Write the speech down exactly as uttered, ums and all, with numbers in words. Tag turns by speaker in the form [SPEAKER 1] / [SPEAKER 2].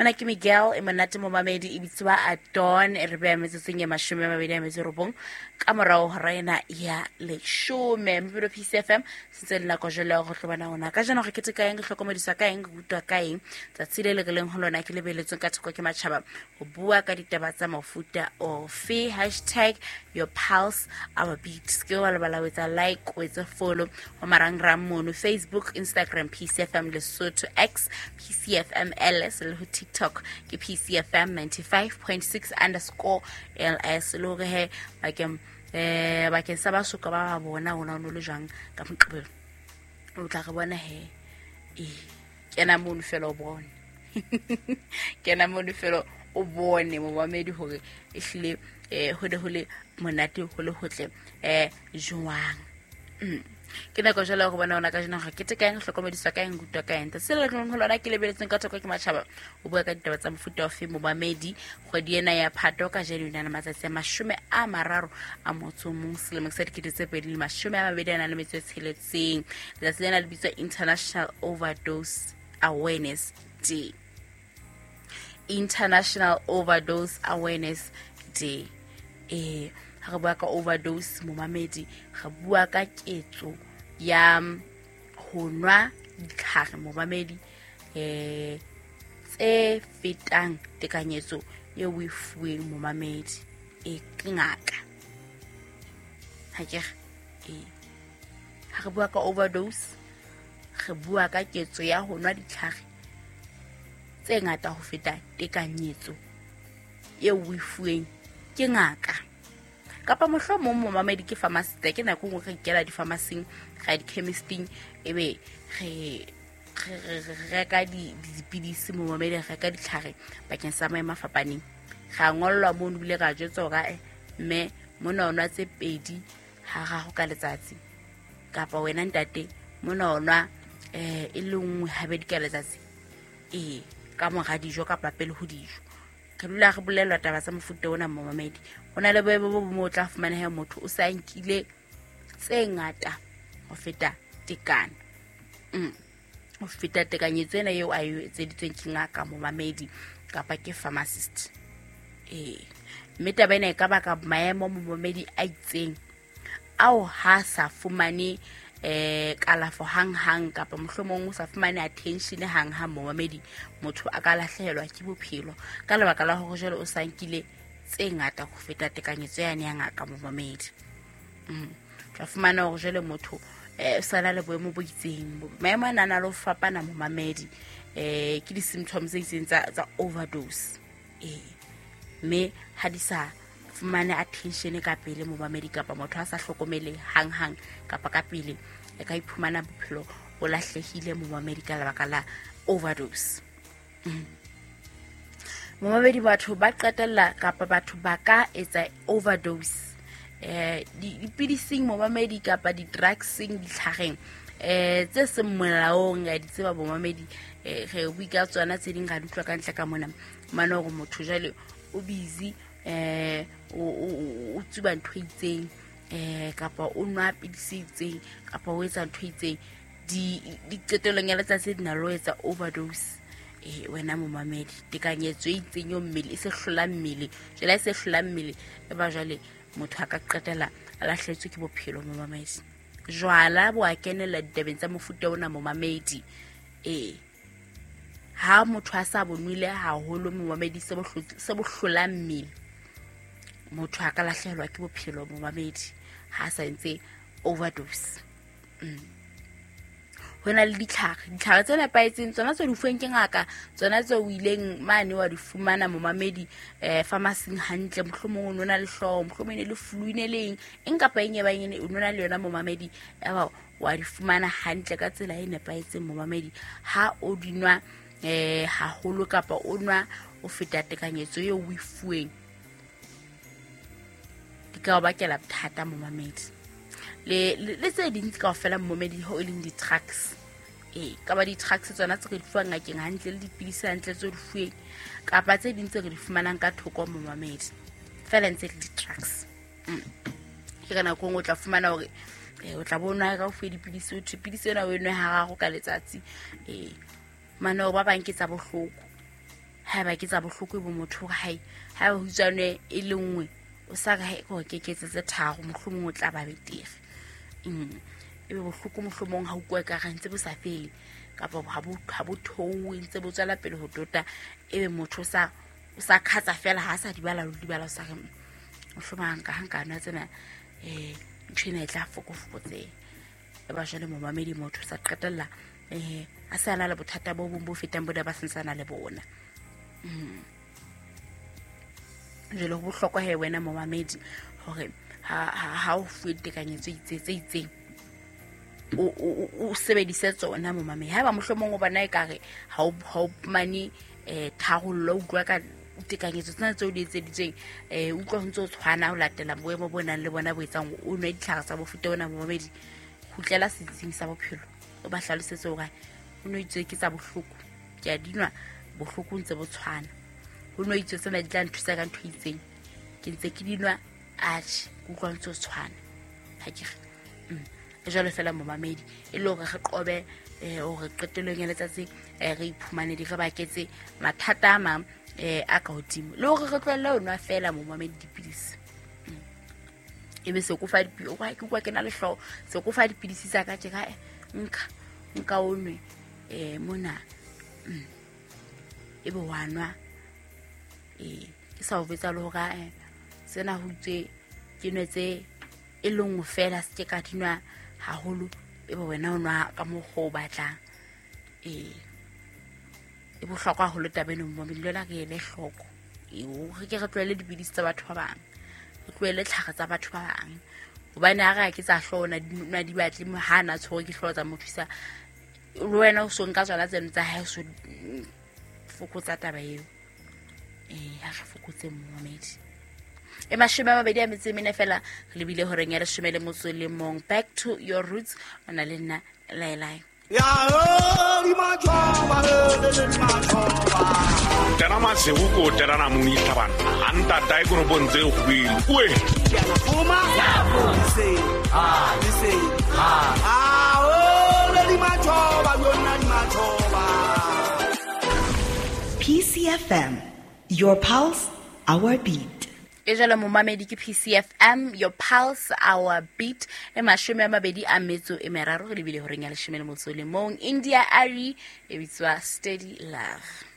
[SPEAKER 1] Mona ke Miguel e monate momamedi e bitswa Adon e re beha metsotsong e mashome a mabedi a metso e robong ka morao hora ena ya leshome. Mopelo P C F M sentse le nako jwale ya go tlo bona hona ka jeno re keteka eng, re hlokomediswa ka eng, re rutwa ka eng. Tsatsi le le re leng ho lona ke lebeletsweng ka thoko ke matjhaba ho bua ka ditaba tsa mofuta ofe. Hashtag your pulse our beat. Ke wa lebala ho etsa like, ho etsa follow ho marangrang mono Facebook, Instagram P C F M Lesotho, X P C F M L S le ho TikTok ke P C F M ninety-five point six underscore L S. Le hore he bakeng eh bakeng sa ba soka ba ba bona hona no le jwang ka Moqebelo o tla re bona he e kena mono fela o bone kena mono fela o bone momamedi hore ehlile eh ho de ho le monate ho le hotle eh jwang. Mm. Ke nako jwale go bona ona ka jeno ga keteka eng, hlokomediswa ka eng, rutwa ka eng. Se le reng ho lona ke lebeletseng ka thoko ke matjhaba o bua ka ditaba tsa mofuta ofe momamedi. Kgwedi ena ya Phato ka jeno e na le matsatsi a mashome a mararo a motso o mong selemong sa dikete tse pedi le mashome a mabedi a nang le metso e tsheletseng. Letsatsi lena le bitswa International Overdose Awareness Day. International Overdose Awareness Day. Eh ha re bua ka overdose momamedi, re bua ka ketso ya ho nwa ditlhare momamedi eh tse fetang tekanyetso eo o e fuweng momamedi e ke ngaka. Ha ke re eh ha re bua ka overdose re bua ka ketso ya ho nwa ditlhare tse ngata ho feta tekanyetso eo o e fuweng ke ngaka. Kapa mohlomong momamedi ke pharmacist, ke nako nngwe re ikela di-pharmacy-ing, ra di-chemisting, ebe re re reka dipidisi momamedi, re reka ditlhare bakeng sa maemo a fapaneng. Ra ngollwa mono ebile ra jwetswa hore mme mona o nwa tse pedi hararo ka letsatsi, kapa wena ntate mona o nwa eh e le nngwe habedi ka letsatsi, ee ka mora dijo kapa pele ho dijo. Re dula re bolellwa taba tsa mofuta ona momamedi. Ho na le boemo bo bong o tla fumaneha motho o sa nkile tse ngata ho feta tekano. Mm. Ho feta tekanyetso ena eo a e etseditsweng ke ngaka momamedi kapa ke pharmacist. Eh, mme taba ena e ka baka maemo momamedi a itseng ao ha sa fumane eh kalafo hang-hang kapa mohlomong o sa fumane attention hang-hang momamedi, motho a ka lahlehelwa ke bophelo ka lebaka la hore jwale o sa nkile tse ngata ho feta tekanyetso yane ya ngaka momamedi. Mm. Tla fumana hore jwale motho eh o sa na le boemo bo itseng. Maemo ana a na le ho fapana momamedi, eh ke di-symptoms tse itseng tsa tsa overdose. Eh mme ha di sa fumane attention ka pele momamedi kapa motho a sa hlokomele hang-hang kapa ka pele, e ka iphumana bophelo bo lahlehile momamedi ka lebaka la overdose. Mm. Momamedi batho ba qetella kapa batho ba ka etsa overdose eh dipidising momamedi kapa di-drugsing ditlhareng eh tse seng molaong ya di tseba momamedi. Eh re bua ka tsona tse ding ra di utlwa ka ntle ka mona mane hore motho jwale o busy eh o o tsuba ntho e itseng eh kapa o nwa pidisi e itseng kapa o etsa ntho e itseng, di diqetellong ya letsatsi di na le ho etsa overdose. Eh wena momamedi, tekanyetso e itseng yo mmele e se hlola mmele, jwale e se hlola mmele e ba jwale motho a ka qetella a lahlehetswe ke bophelo momamedi. Jwala bo a kenella ditabeng tsa mofuta ona momamedi. Eh ha motho a sa bonwile haholo momamedi se bo hlola mmele, motho a ka lahlehelwa ke bophelo momamedi ha sa entse overdose. Mm. Ho na le ditlhare, ditlhare tse nepahetseng tsona tse di fuweng ke ngaka, tsona tse o ileng mane wa di fumana momamedi eh pharmacy-ing hantle, mohlomong o nona le hlooho, mohlomong e ne le flu e ne le eng, eng kapa eng e bang e ne o nona le yona momamedi, eba wa di fumana hantle ka tsela e nepahetseng momamedi. Ha o di nwa eh haholo kapa o nwa o feta tekanyetso eo o e fuweng, di ka o bakela bothata momamedi. Le le tse ding kaofela momamedi ho e leng di-drugs. Eh ka ba di-drugs tsona tse re di fuwang ngakeng hantle le dipidisi hantle tse di fuweng kapa tse ding tse re di fumanang ka thoko momamedi, fela ntse le di-drugs. Mm. Ke ka nako e nngwe o tla fumana hore eh o tla bona ka o fuwe dipidisi, o thwe pidisi ena o e nwe hararo ka letsatsi. Eh mane hore ba bang ke tsa bohloko. Haeba ke tsa bohloko bo motho hore hai ha ho tswane e le nngwe o sa re hai ke keketse tse tharo mohlomong o tla ba betere. Mm ebe bohloko mohlomong ha utlwa ka re ntse bo sa fele kapa ha bo ha bo thowe ntse bo tswela pele ho tota ebe motho sa o sa khatsa fela ha sa di bala di bala o sa re mohlomong ka hanka nwa tsena eh ntho ena e tla fokofokotse e ba jwale momamedi motho sa qetella eh a sa na le bothata bo bong bo fetang bo da ba santsana le bona. Mm jwale ho bohlokwa he wena momamedi hore ha ha o fuwe tekanyetso itse tse itseng o o sebedise tsona momamedi. Haeba mohlomong o bona ekare ha o ha o mane eh tharollo utlwa ka tekanyetso tsena tseo di etseditsweng eh utlwa ho ntse o tshwana ho latela boemo bo nang le bona bo etsang o nwe ditlhare tsa bofuta ona momamedi kgutlela setsing sa bophelo o ba hlalosetse hore o no itse ke tsa bohloko ke a dinwa bohloko ntse bo tshwana ho no itse tsena di tla nthusa ka ntho itseng ke ntse ke dinwa atjhe utlwa ntse o tshwana ha ke re jwalo fela momamedi e le hore re qobe hore qetellong ya letsatsi re iphumane di re baketse mathata a mang a ka hodimo le hore re tlohelle ho nwa fela momamedi dipidisi. Ebe se ko fa dipidisi ke utlwa ke na le hlooho se ko fa dipidisi tsa ka tje ka nka nka o nwe eh mona ebe wa nwa eh ke sa o betsa le hore eh tsena ho tswe ke nwe tse e le nngwe fela se ke ka dinwa haholo ebe wena o nwa ka mokgwa o batlang. Eh e bohlokwa haholo taba eno momamedi le re ele hloko re ke re tlohele dipidisi tsa batho ba bang re tlohele tlhare tsa batho ba bang hobane ha re a ke tsa hlooho na di batle ha na tshwere ke hlooho tsa motho isa le wena o so nka tsona tseno tsa hae so fokotsa taba eo. Eh ha re fokotse momamedi. E mashome a mabedi a metso e mene fela re lebile horeng ya leshome le motso le mong. Back to your roots o na le nna Laelai.
[SPEAKER 2] Tena masego tena na muni tlhabana anta dai go bontse go buile oe
[SPEAKER 3] ah listen ah ah oh le di machoba yona di machoba.
[SPEAKER 4] P C F M, your pulse, our beat.
[SPEAKER 1] E jalo momamedi ke P C F M, your pulse, our beat. E mashome a mabedi a metso e meraro re lebile horeng ya leshome le motso le mong. India Ari e bitswa Steady Love.